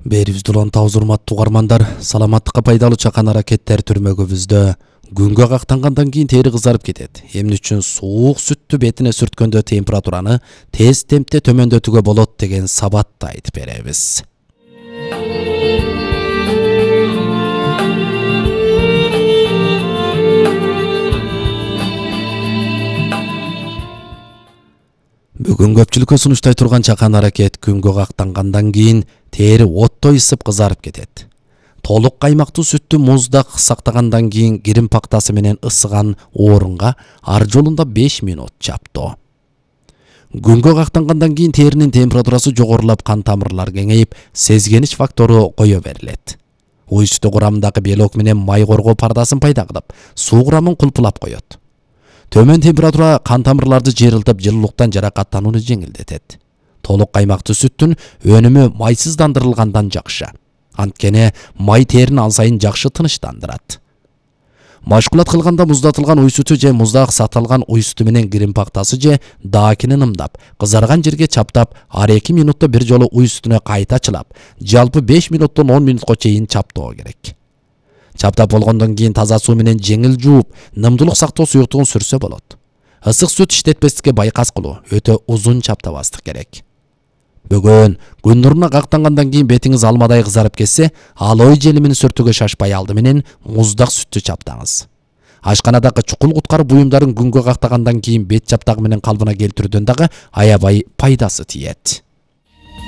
Берибизде улан табыз урматтуу угармандар, саламаттыкка пайдалуу чакан аракеттер түрмөгүбүздө күнгө кактангандан кийин тери кызарып кетет. Эмне үчүн суук сүттү бетине сүрткөндө температураны тез темпте төмөндөтүүгө болот деген сабатты айтып беребиз. Бүгүн көпчүлүккө сунуштай турган чакан аракет күнгө кактангандан кийин тери оттой ысып кызарып кетет. Толук каймактуу сүттү музда сактагандан кийин кирим пактасы менен ысыган орунга ар жолунда 5 минут чаптоо. Күнгө кактангандан кийин теринин температурасы жогорулап, кан тамырлар кеңейип, сезгенич фактору кое берилет. Уй сүтү курамындагы белок менен май коргоо пардасын пайда кылып, суу курамын кулпулап коет. Төмөн температура кан тамырларды жыйрылтып, жылуулуктан жаракаттанууну жеңилдетет. Толук каймактуу сүттүн өнүмү майсыздандырылгандан жакшы. Анткени май терини ал сайын жакшы тынычтандырат. Машкулат кылганда муздатылган уй сүтү же музда сакталган уй сүтү менен кирим пактасы же даакинин ымдап, кызарган жерге чаптап, ар 2 минутта бир жолу уй сүтүнө кайта чылап, жалпы 5 минуттон 10 минутка чейин чаптоо керек. Чаптап болгондон кийин таза суу менен жеңил жууп, нымдуулук сактоо суюктугун сүрсө болот. Ысык сүт иштетпестикке байкас кылуу, өтө узун чаптабастык керек. Бүгүн күн нуруна кактангандан кийин бетиңиз алмадай кызарып кетсе, алоэ желимин сүртүүгө шашпай алды менен муздак сүттү чаптаңыз. Ашканадагы чукул куткаруу буюмдарын күнгө кактагандан кийин бет чаптагы менен калыбына келтирүүдөн дагы аябай пайдасы тиет.